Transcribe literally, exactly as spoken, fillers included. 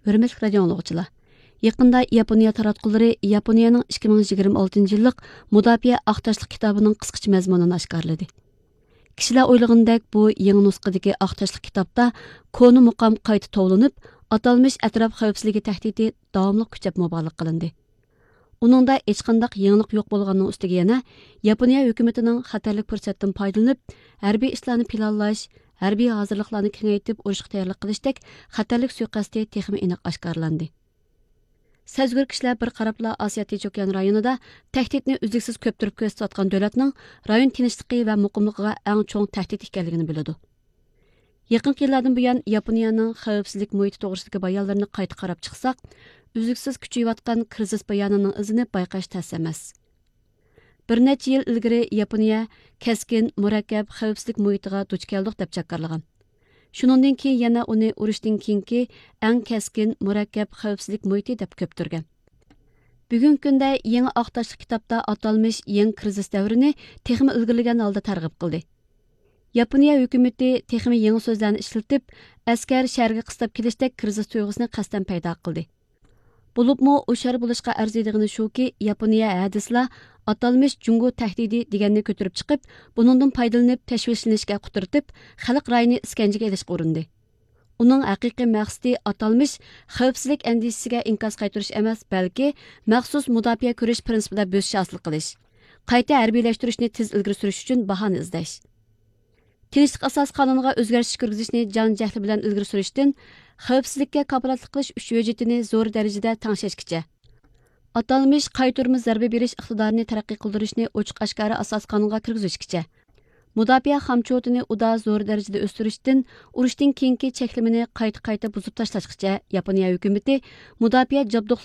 ھۆرمەتلىك رادىئو ئاڭلىغۇچىلار، يېقىندا ياپونىيە تاراتقۇلىرى ياپونىيەنىڭ ئىككى مىڭ يىگىرمە ئالتىنچى يىللىق مۇداپىئە ئاق تاشلىق كىتابىنىڭ قىسقىچە مەزمۇنىنى ئاشكارىلىدى. كىشىلەر ئويلىغىنىدەك بۇ يېڭى نۇسخىدىكى ئاق تاشلىق كىتابتا كونا مۇقام قايتا توۋلىنىپ، ئاتالمىش ئەتراپ خەۋپسىزلىكى تەھدىتى داۋاملىق كۈچەپ مۇبالىغە قىلىندى. ئۇنىڭدا ھېچقانداق يېڭىلىق يوق بولغاننىڭ ئۈستىگە يەنە ياپونىيە ھۆكۈمىتىنىڭ خەتەرلىك پۇرسەتتىن پايدىلىنىپ، ھەربىي ئىشلارنى پىلانلاش، ھەربىي ھازىرلىقلارنى كېڭەيتىپ ئۇرۇشقا تەييارلىق قىلىشتەك خەتەرلىك سۇيىقەستى تېخىمۇ ئېنىق ئاشكارىلاندى. سەزگۈر كىشىلەر بىر قاراپلا ئاسىيا تىنچ ئوكيان رايونىدا تەھدىتنى ئۈزلۈكسىز كۆپتۈرۈپ كۆرسىتىۋاتقان دۆلەتنىڭ رايون تىنچلىقى ۋە مۇقىملىقىغا ئەڭ چوڭ تەھدىت ئىكەنلىكىنى بىلىدۇ. يېقىنقى يىللاردىن بۇيان ياپونىيەنىڭ خەۋپسىزلىك مۇھىتى توغرىسىدىكى بايانلىرىنى قايتا قاراپ چىقساق، ئۈزلۈكسىز كۈچىيىۋاتقان كىرىزىس بايانىنىڭ ئىزىنى بايقاش تەس ئەمەس. بىر نەچچە يىل ئىلگىرى ياپونىيە كەسكىن، مۇرەككەپ خەۋپسىزلىك مۇھىتىغا دۇچ كەلدۇق دەپ جاكارلىغان. شۇنىڭدىن كېيىن يەنە ئۇنى ئۇرۇشتىن كېيىنكى ئەڭ كەسكىن، مۇرەككەپ خەۋپسىزلىك مۇھىتى دەپ كۆپتۈرگەن. بۈگۈنكى كۈندە يېڭى ئاق تاشلىق كىتابتا ئاتالمىش يېڭى كىرىزىس دەۋرىنى تېخىمۇ ئىلگىرىلىگەن ھالدا تەرغىب قىلدى. ياپونىيە ھۆكۈمىتى تېخىمۇ يېڭى سۆزلەرنى ئىشلىتىپ، ئەسكەر شەھەرگە قىستاپ كېلىشتەك كىرىزىس تۇيغۇسىنى قەستەن پەيدا قىلدى. بولۇپمۇ ھوشيار بولۇشقا ئەرزىيدىغىنى شۇكى، ياپونىيە ھە دېسىلا، ئاتالمىش جۇڭگو تەھدىتى دېگەننى كۆتۈرۈپ چىقىپ، بۇنىڭدىن پايدىلىنىپ تەشۋىشلىنىشكە قۇترىتىپ، خەلق رايىنى ئىسكەنجىگە ئېلىشقا ئۇرۇندى. ئۇنىڭ ھەقىقىي مەقسىتى ئاتالمىش خەۋپسىزلىك ئەندىشىسىگە ئىنكاس قايتۇرۇش ئەمەس، بەلكى مەخسۇس مۇداپىئە كۈرەش پىرىنسىپىدا بۆسۈش ھاسىل قىلىش، قايتا ھەربىيلەشتۈرۈشنى تېز ئىلگىرى سۈرۈش ئۈچۈن باھانە ئىزدەش. تىنچلىق ئاساسىي قانۇنىغا ئۆزگەرتىش كىرگۈزۈشنى جان جەھلى بىلەن ئىلگىرى سۈرۈشتىن، خەۋپسىزلىككە كاپالەتلىك قىلىش ئۈچ ھۆججىتىنى زور دەرىجىدە تەڭشەشكىچە، ئاتالمىش قايتۇرما زەربە بېرىش ئىقتىدارىنى تەرەققىي قىلدۇرۇشنى ئوچۇق ئاشكارا ئاساسىي قانۇنغا كىرگۈزۈشكىچە، مۇداپىئە خامچوتىنى ئۇدا زور دەرىجىدە ئۆستۈرۈشتىن، ئۇرۇشتىن كېيىنكى چەكلىمىنى قايتا قايتا بۇزۇپ تاشلاشقىچە، ياپونىيە ھۆكۈمىتى مۇداپىئە جابدۇقلىرى